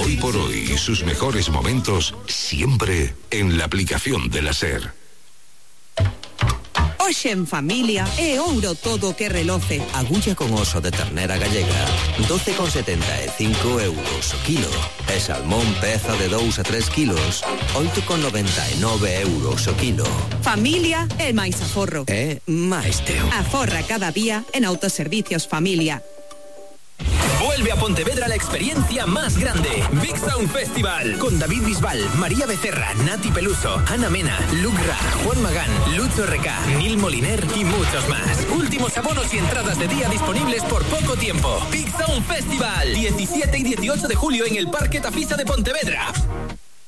Hoy por hoy, sus mejores momentos siempre en la aplicación de la SER. Hoxe en familia é ouro todo o que reloce. Agulla con oso de ternera gallega, 12,75 euros o kilo. E salmón peza de 2 a 3 kilos, 8,99 euros o kilo. Familia é máis aforro. É máis teu. Aforra cada día en Autoservicios Familia. Vuelve a Pontevedra la experiencia más grande. Big Sound Festival. Con David Bisbal, María Becerra, Nati Peluso, Ana Mena, Luc Ra, Juan Magán, Lucho Recá, Nil Moliner y muchos más. Últimos abonos y entradas de día disponibles por poco tiempo. Big Sound Festival. 17 y 18 de julio en el Parque Tafisa de Pontevedra.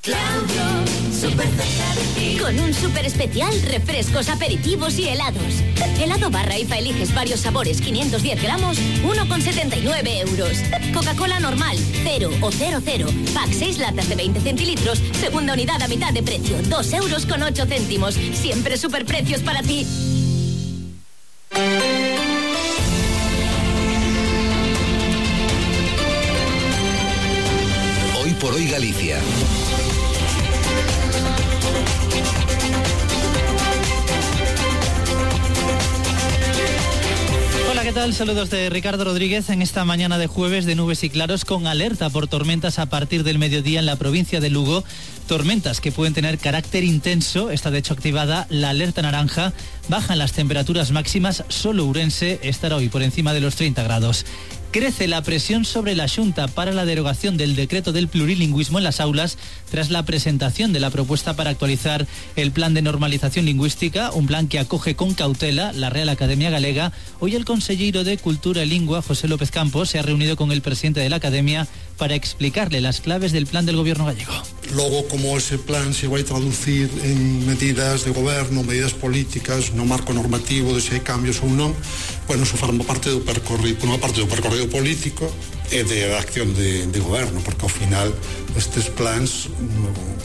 Claudio, súper cerca de ti. Con un súper especial, refrescos, aperitivos y helados. Helado barra IFA eliges varios sabores, 510 gramos, 1,79 euros. Coca-Cola normal, 0 o 00. Pack 6 latas de 20 centilitros, segunda unidad a mitad de precio, 2,08 euros. Siempre superprecios para ti. Hoy por hoy Galicia. Hola, ¿qué tal? Saludos de Ricardo Rodríguez en esta mañana de jueves de nubes y claros con alerta por tormentas a partir del mediodía en la provincia de Lugo. Tormentas que pueden tener carácter intenso. Está de hecho activada la alerta naranja. Bajan las temperaturas máximas. Solo Ourense estará hoy por encima de los 30 grados. Crece la presión sobre la Xunta para la derogación del decreto del plurilingüismo en las aulas tras la presentación de la propuesta para actualizar el plan de normalización lingüística, un plan que acoge con cautela la Real Academia Galega. Hoy el consellero de Cultura y Lingua, José López Campos, se ha reunido con el presidente de la Academia para explicarle las claves del plan del gobierno gallego. Logo, como ese plan se vai traducir en medidas de goberno, medidas políticas, no marco normativo de se hai cambios ou non, bueno, eso forma parte do percorrido, unha parte do percorrido político e de acción de goberno, porque ao final estes plans,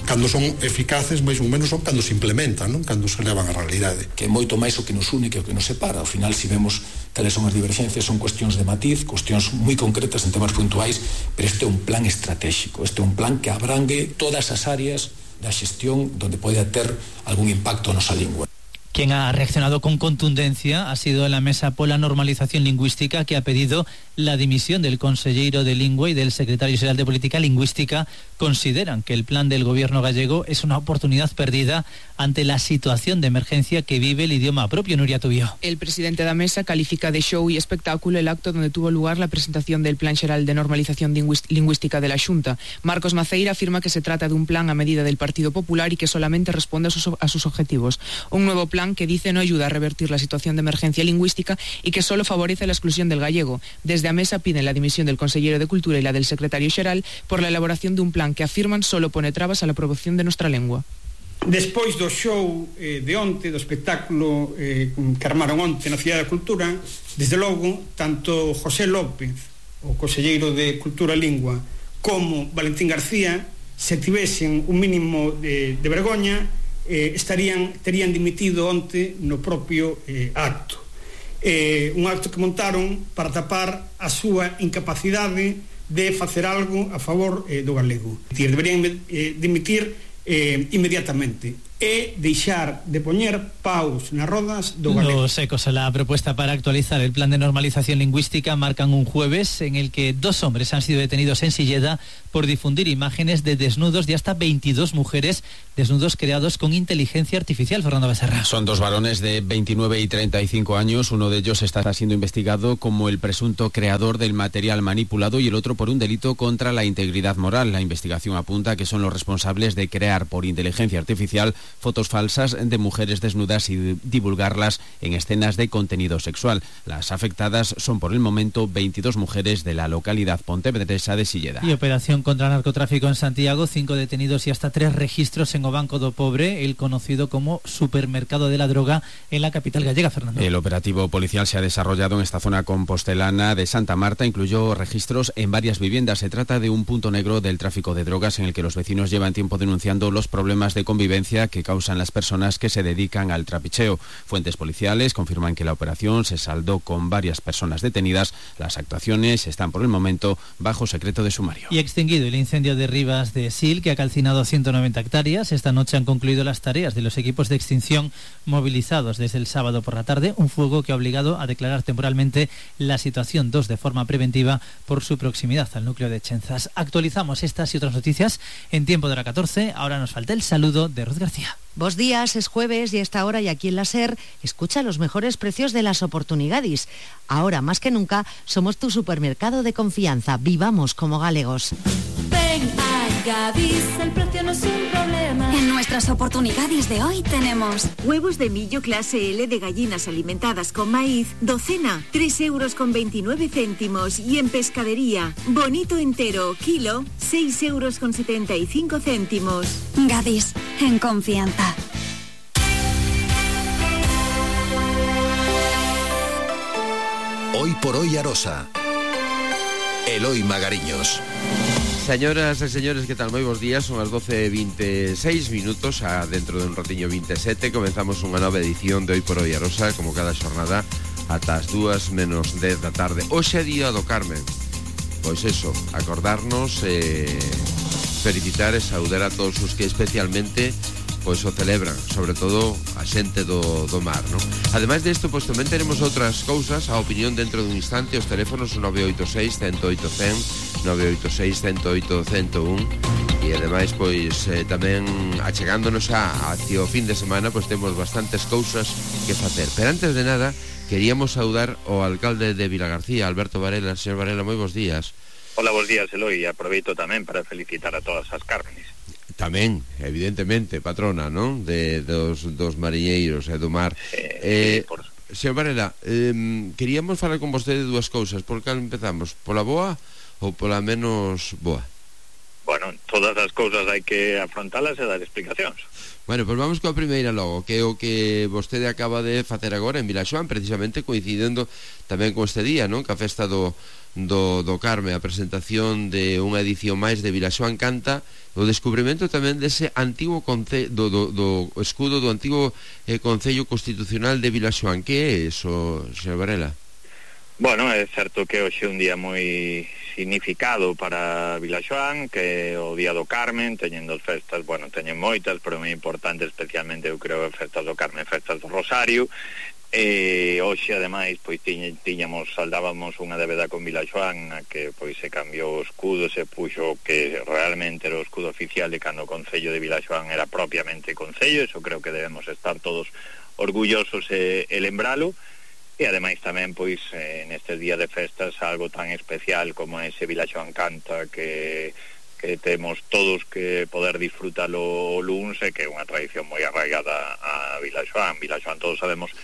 cando son eficaces, máis ou menos son cando se implementan, non? Cando se levan á realidade. Que é moito máis o que nos une que o que nos separa. Ao final, se vemos cales son as divergencias, son cuestións de matiz, cuestións moi concretas en temas puntuais, pero este é un plan estratégico, este é un plan que abrangue todas as áreas da xestión donde pode ter algún impacto a nosa lingua. Quien ha reaccionado con contundencia ha sido la Mesa por la Normalización Lingüística, que ha pedido la dimisión del consellero de Lingua y del secretario general de Política Lingüística. Consideran que el plan del gobierno gallego es una oportunidad perdida ante la situación de emergencia que vive el idioma propio. Nuria Tubío. El presidente da Mesa califica de show y espectáculo el acto donde tuvo lugar la presentación del Plan Xeral de Normalización Lingüística de la Xunta. Marcos Maceira afirma que se trata de un plan a medida del Partido Popular y que solamente responde a sus objetivos. Un nuevo plan que dice no ayuda a revertir la situación de emergencia lingüística y que solo favorece la exclusión del gallego. Desde a Mesa piden la dimisión del consellero de Cultura y la del secretario xeral por la elaboración de un plan que afirman solo pone trabas a la promoción de nuestra lengua. Despois do show de onte, do espectáculo que armaron onte na Cidade da Cultura, desde logo, tanto José López, o conselleiro de Cultura e Lingua, como Valentín García, se tivesen un mínimo de vergoña, terían dimitido onte no propio acto. Un acto que montaron para tapar a súa incapacidade de facer algo a favor do galego. Deberían dimitir inmediatamente e deixar de poñer paus nas rodas do galego. Los ecos a la propuesta para actualizar el plan de normalización lingüística marcan un jueves en el que 2 hombres han sido detenidos en Silleda por difundir imágenes de desnudos de hasta 22 mujeres, desnudos creados con inteligencia artificial. Fernando Becerra. Son 2 varones de 29 y 35 años. Uno de ellos está siendo investigado como el presunto creador del material manipulado y el otro por un delito contra la integridad moral. La investigación apunta que son los responsables de crear por inteligencia artificial fotos falsas de mujeres desnudas y divulgarlas en escenas de contenido sexual. Las afectadas son por el momento 22 mujeres de la localidad pontevedresa de Silleda. Y operación contra narcotráfico en Santiago, 5 detenidos y hasta 3 registros en o Banco do Pobre, el conocido como supermercado de la droga en la capital gallega. Fernando. El operativo policial se ha desarrollado en esta zona compostelana de Santa Marta, incluyó registros en varias viviendas. Se trata de un punto negro del tráfico de drogas en el que los vecinos llevan tiempo denunciando los problemas de convivencia que que causan las personas que se dedican al trapicheo. Fuentes policiales confirman que la operación se saldó con varias personas detenidas. Las actuaciones están por el momento bajo secreto de sumario. Y extinguido el incendio de Rivas de Sil, que ha calcinado 190 hectáreas. Esta noche han concluido las tareas de los equipos de extinción movilizados desde el sábado por la tarde, un fuego que ha obligado a declarar temporalmente la situación 2 de forma preventiva por su proximidad al núcleo de Chenzas. Actualizamos estas y otras noticias en tiempo de hora 14. Ahora nos falta el saludo de Ruth García. Bos días, es jueves y a esta hora y aquí en la SER escucha los mejores precios de las oportunidades. Ahora más que nunca somos tu supermercado de confianza. Vivamos como galegos. Ven a Gadis, el precio no es un problema. En nuestras oportunidades de hoy tenemos huevos de millo clase L de gallinas alimentadas con maíz, docena, 3,29 €. Y en pescadería, bonito entero, kilo, 6,75 €. Gadis, en confianza. Hoy por hoy Arosa. Eloi Magariños. Señoras e señores, que tal? Moi bons días, son as 12:26 minutos, dentro de un ratiño 27 comenzamos unha nova edición de Hoy por Hoy Arosa, como cada xornada ata as 2:10 da tarde. Hoxe é día do Carmen. Pois eso, acordarnos, felicitar e saudar a todos os que especialmente pois o celebran, sobre todo a xente do mar, non? Ademais desto, pois tamén teremos outras cousas, a opinión dentro dun instante, os teléfonos 986 108 100, 986 108 101, e ademais pois tamén achegándonos hacia o fin de semana, pois temos bastantes cousas que facer. Pero antes de nada, queríamos saudar o alcalde de Vilagarcía, Alberto Varela. Señor Varela, moi bons días. Hola, bons días, Eloi, e aproveito tamén para felicitar a todas as Cármenes. Tamén, evidentemente, patrona, non? Dos mariñeiros e do mar. Señor Varela, queríamos falar con vostede de dúas cousas. Por cal empezamos? Pola boa ou pola menos boa? Bueno, todas as cousas hai que afrontalas e dar explicacións. Bueno, pois vamos coa primeira logo, que é o que vostede acaba de facer agora en Vilaxoán, precisamente coincidendo tamén con este día, non? Que a festa do Carme, a presentación de unha edición máis de Vilaxoán Canta, o descubrimento tamén dese antigo do escudo do antigo Concello Constitucional de Vilaxoán. Que é iso, señor Varela? Bueno, é certo que hoxe é un día moi significado para Vilaxoán, que é o Día do Carmen, teñendo as festas, bueno, teñen moitas, pero moi importante, especialmente, eu creo, festas do Carmen, festas do Rosario. Hoxe, ademais, pois saldábamos unha débeda con Vilaxoán, a que pois se cambiou o escudo, se puxo que realmente era o escudo oficial de cando o Concello de Vilaxoán era propiamente Concello. Eso creo que debemos estar todos orgullosos e lembralo. E ademais tamén, pois, nestes días de festas, algo tan especial como ese Vilaxoán Canta que temos todos que poder disfrutalo o luns, e que é unha tradición moi arraigada a Vilaxoán. Vilaxoán todos sabemos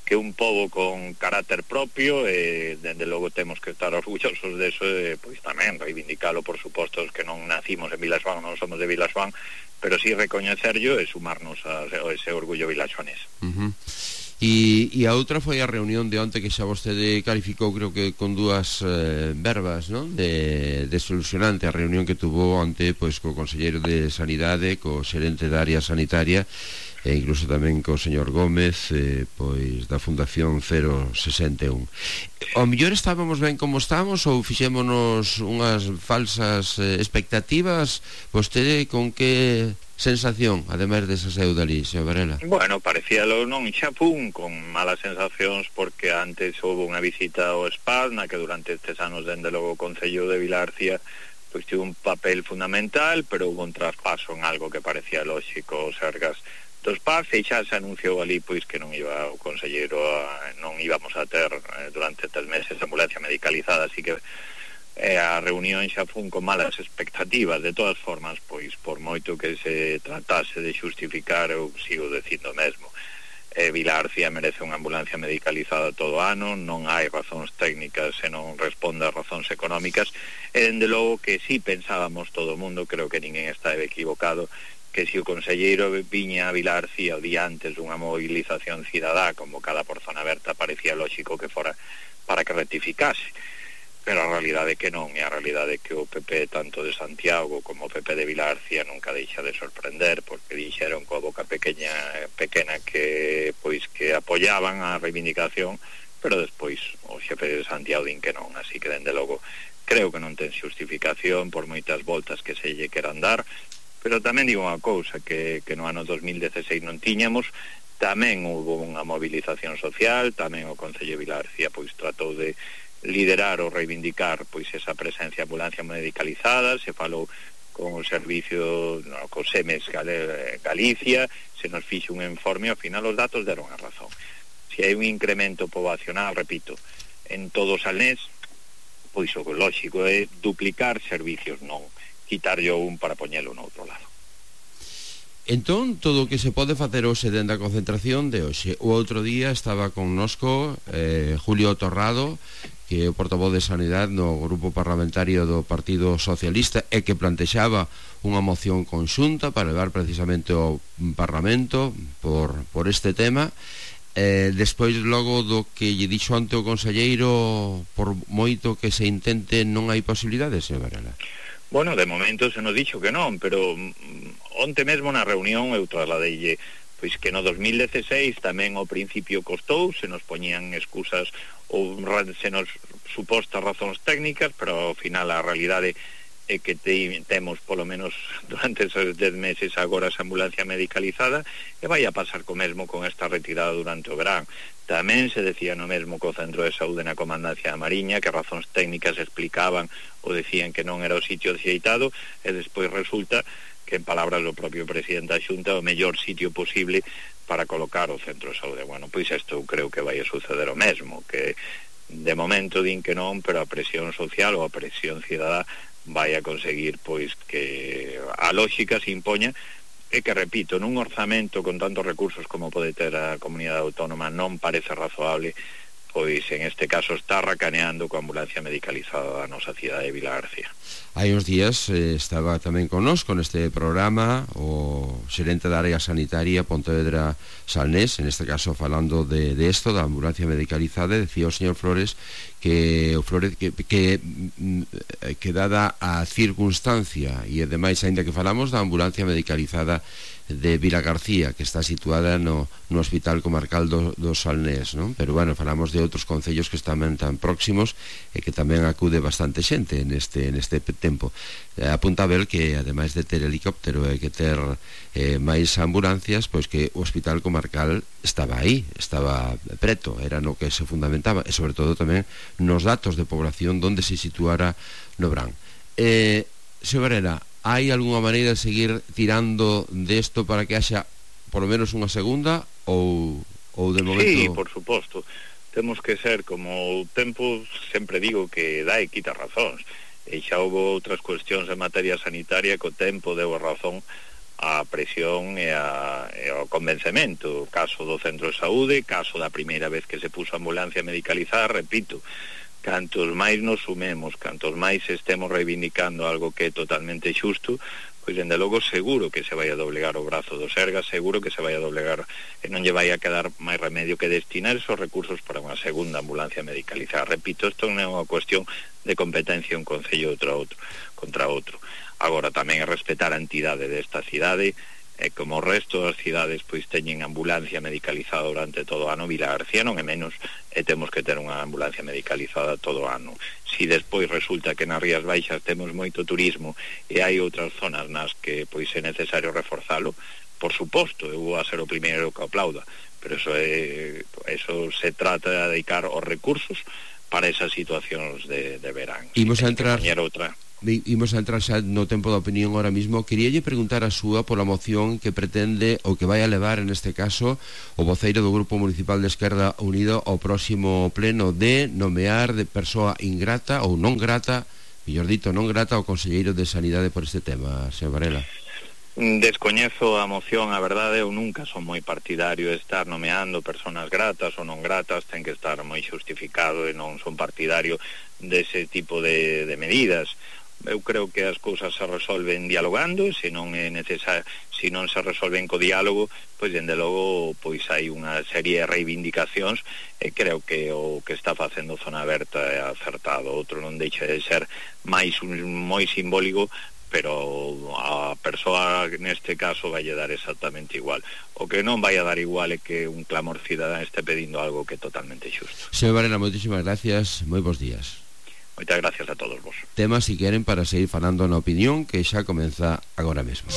que é un pobo con carácter propio, e dende logo temos que estar orgullosos deso, e pois tamén reivindicalo, por suposto, os que non nacimos en Vilaxoán, non somos de Vilaxoán, pero sí recoñecerlo e sumarnos a ese orgullo vilaxoanés. E a outra foi a reunión de onte, que xa vostede calificou, creo que con dúas verbas, non? De solucionante, a reunión que tuvo onte pois co conselleiro de Sanidade, co xerente da área sanitaria, e incluso tamén co señor Gómez, pois da Fundación 061. Ao mellor estábamos ben como estamos, ou fixémonos unhas falsas expectativas? Vostede con que sensación, ademais desa seu dali, señor Varela? Bueno, parecíalo non xa pun con malas sensacións, porque antes houve unha visita ao SPAS, na que durante estes anos, dende logo, o Concello de Vilagarcía pois tivo un papel fundamental, pero houve un traspaso en algo que parecía lógico, os Sergas do SPAS, e xa se anunciou ali pois que non iba o conselleiro non íbamos a ter durante 3 meses ambulancia medicalizada, así que a reunión xa fun con malas expectativas. De todas formas, pois por moito que se tratase de xustificar, eu sigo dicindo mesmo, Vilagarcía merece unha ambulancia medicalizada todo ano, non hai razóns técnicas e non responde a razóns económicas, e dende logo que si pensábamos todo o mundo, creo que ninguén está equivocado, que se o conselleiro viña a Vilagarcía o día antes dunha movilización cidadá convocada por Zona Aberta, parecía lógico que fora para que rectificase. pero a realidade é que non, e a realidade é que o PP tanto de Santiago como o PP de Vilagarcía nunca deixa de sorprender, porque dixeron coa boca pequena que pois que apoyaban a reivindicación, pero despois o xefe de Santiago din que non, así que dende logo creo que non ten xustificación por moitas voltas que se lle queran dar. Pero tamén digo unha cousa que no ano 2016 non tiñamos, tamén hubo unha movilización social, tamén o Concello de Vilagarcía pois tratou de liderar ou reivindicar pois esa presencia de ambulancia medicalizada, se falou con o servicio, co SEMES Galicia, se nos fixe un informe, ao final os datos deron a razón. Se hai un incremento poboacional, repito, en todo o Salnés, pois o lógico é duplicar servicios, non quitarlle un para poñelo no outro lado. Entón, todo o que se pode facer hoxe dentro da concentración de hoxe. O outro día estaba connosco Julio Torrado, que é o portavoz de Sanidade no grupo parlamentario do Partido Socialista e que plantexaba unha moción conxunta para levar precisamente ao Parlamento por este tema. Despois logo do que lle dixo ante o conselleiro, por moito que se intente, non hai posibilidades, señor Varela? Bueno, de momento se nos dixo que non, pero onte mesmo na reunión eu trasladeille pois que no 2016 tamén ao principio costou, se nos poñían excusas ou se nos supostas razóns técnicas, pero ao final a realidade é que temos polo menos durante esos 10 meses agora esa ambulancia medicalizada, e vai a pasar co mesmo con esta retirada durante o verán. Tamén se decía no mesmo co Centro de Saúde na Comandancia da Mariña, que razóns técnicas explicaban ou decían que non era o sitio axeitado, e despois resulta que, en palabras do propio presidente da Xunta, o mellor sitio posible para colocar o Centro de Saúde. Bueno, pois isto creo que vai a suceder o mesmo, que de momento din que non, pero a presión social ou a presión cidadá vai a conseguir pois que a lógica se impoña, e que, repito, nun orzamento con tantos recursos como pode ter a comunidade autónoma non parece razoable pois en este caso está racaneando coa ambulancia medicalizada da nosa cidade de Vilagarcía. Hai uns días estaba tamén connosco neste programa o xerente da área sanitaria Pontevedra Salnés, en este caso falando de esto, da ambulancia medicalizada, decía o señor Flores que dada a circunstancia e ademais aínda que falamos da ambulancia medicalizada de Vilagarcía, que está situada no Hospital Comarcal do Salnés, non? Pero bueno, falamos de outros concellos que están tan próximos e que tamén acude bastante xente neste tempo. Apunta a ver que ademais de ter helicóptero e que ter máis ambulancias, pois que o Hospital Comarcal estaba aí, estaba preto, era no que se fundamentaba, e sobre todo tamén nos datos de población donde se situara no Brán. Señor Varela, hai algunha maneira de seguir tirando desto para que haxa por lo menos unha segunda ou de momento... Sí, por suposto. Temos que ser como o tempo, sempre digo que dá e quita razóns. E xa houve outras cuestións en materia sanitaria que o tempo deu a razón a presión e ao convencemento. Caso do Centro de Saúde, caso da primeira vez que se puso ambulancia medicalizada, repito, cantos máis nos sumemos, cantos máis estemos reivindicando algo que é totalmente xusto, pois dende logo seguro que se vai a doblegar o brazo do Sergas, seguro que se vai a doblegar e non lle vai a quedar máis remedio que destinar esos recursos para unha segunda ambulancia medicalizada. Repito, isto non é unha cuestión de competencia un concello contra outro. Agora tamén é respetar a entidade desta cidade, e como o resto das cidades pois teñen ambulancia medicalizada durante todo o ano, Vilagarcía non é menos, e temos que ter unha ambulancia medicalizada todo o ano. Si despois resulta que nas Rías Baixas temos moito turismo e hai outras zonas nas que pois é necesario reforzalo, por suposto, eu vou a ser o primeiro que aplauda, pero eso se trata de dedicar os recursos para esas situacións de verán. Imos a entrar xa no tempo da opinión ahora mismo. Queríalle preguntar a súa pola moción que pretende ou que vai a levar en este caso o voceiro do Grupo Municipal de Esquerda Unido ao próximo pleno de nomear de persoa ingrata ou non grata, mellor dito non grata, ao conselleiro de Sanidade por este tema, señor Varela. Descoñezo a moción, a verdade, eu nunca son moi partidario de estar nomeando persoas gratas ou non gratas, ten que estar moi xustificado e non son partidario dese tipo de medidas. eu creo que as cousas se resolven dialogando, se non é necesario, se non se resolven co diálogo, pois dende logo pois hai unha serie de reivindicacións e creo que o que está facendo Zona Aberta é acertado. Outro non deixa de ser máis moi simbólico, pero a persoa neste caso vai dar exactamente igual. O que non vai a dar igual é que un clamor cidadán este pedindo algo que é totalmente xusto. Señor Varela, moitísimas gracias, moi bons días. Moitas gracias a todos vos. Temas, si queren, para seguir falando na opinión, que xa comeza agora mesmo.